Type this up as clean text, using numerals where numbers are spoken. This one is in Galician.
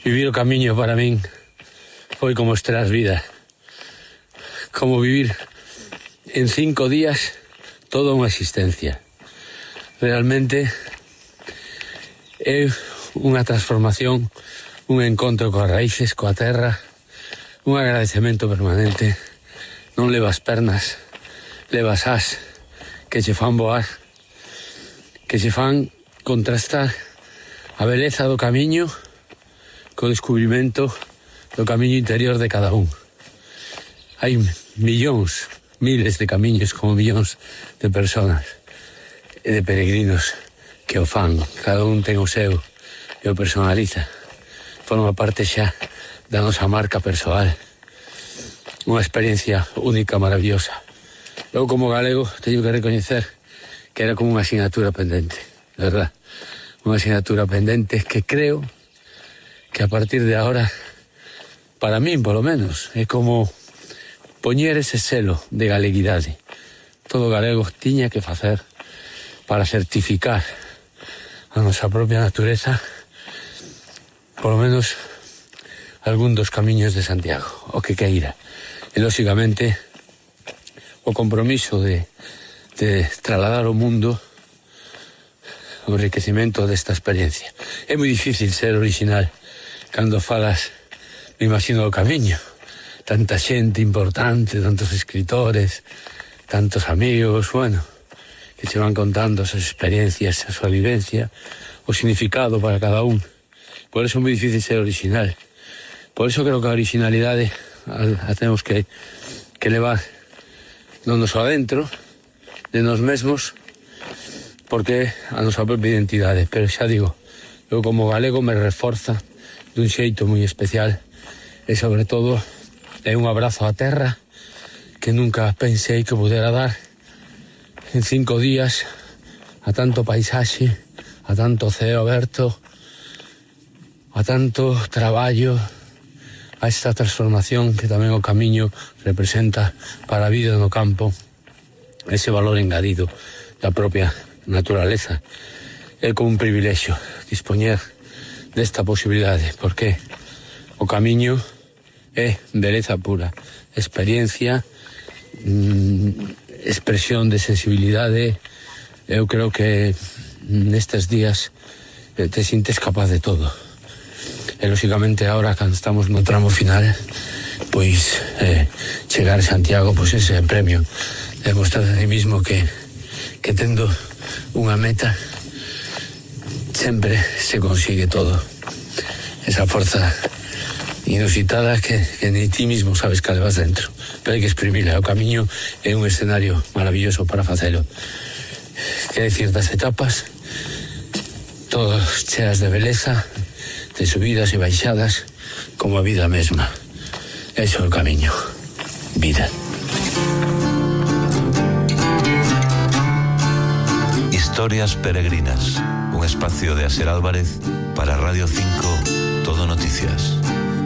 Vivir o camiño para min foi como estrear vida. Como vivir en 5 días toda unha existencia. Realmente é unha transformación, un encontro coas raíces, coa terra, un agradecemento permanente. Non levas pernas, levas as que che fan voar, que che fan contrastar a beleza do camiño co descubrimento do camiño interior de cada un. Hai millóns, miles de camiños como millóns de personas e de peregrinos que o fan. Cada un ten o seu e o personaliza. Forma parte xa da nosa marca persoal. Unha experiencia única, maravillosa. Eu como galego teño que recoñecer que era como unha asignatura pendente, de verdad. Unha asignatura pendente que creo que a partir de ahora, para min polo menos, é como poñer ese selo de galeguidade. Todo galego tiña que facer para certificar a nosa propia natureza, polo menos algún dos camiños de Santiago, o que queira. E, lóxicamente, o compromiso de trasladar ao mundo o enriquecimento desta experiencia. É moi difícil ser original cando falas, me imagino, do camiño. Tanta xente importante, tantos escritores, tantos amigos, bueno, que se van contando as experiencias, a súa vivencia, o significado para cada un. Por eso é moi difícil ser original. Por eso creo que a originalidade a temos que levar non só adentro de nós mesmos, porque a nosa propia identidade. Pero xa digo, eu como galego me reforza dun xeito moi especial e sobre todo é un abrazo á terra que nunca pensei que pudera dar en 5 días, a tanto paisaxe, a tanto ceo aberto, a tanto traballo, a esta transformación que tamén o camiño representa para a vida no campo, ese valor engadido da propia naturaleza. É como un privilexio dispoñer desta posibilidade, porque o camiño é beleza pura, experiencia, expresión de sensibilidade. Eu creo que nestes días te sintes capaz de todo. E, lóxicamente, agora, cando estamos no tramo final, pois chegar a Santiago, pois ese premio de mostrar a ti mismo que tendo unha meta sempre se consigue todo. Esa forza inusitada que ni ti mismo sabes que levas dentro, pero hai que exprimila. O camiño é un escenario maravilloso para facelo. Que decir das etapas, todas cheas de beleza, de subidas e baixadas, como a vida mesma. Eso é o camiño. Vida. Historias peregrinas, un espacio de Asier Álvarez para Radio 5 Todo Noticias.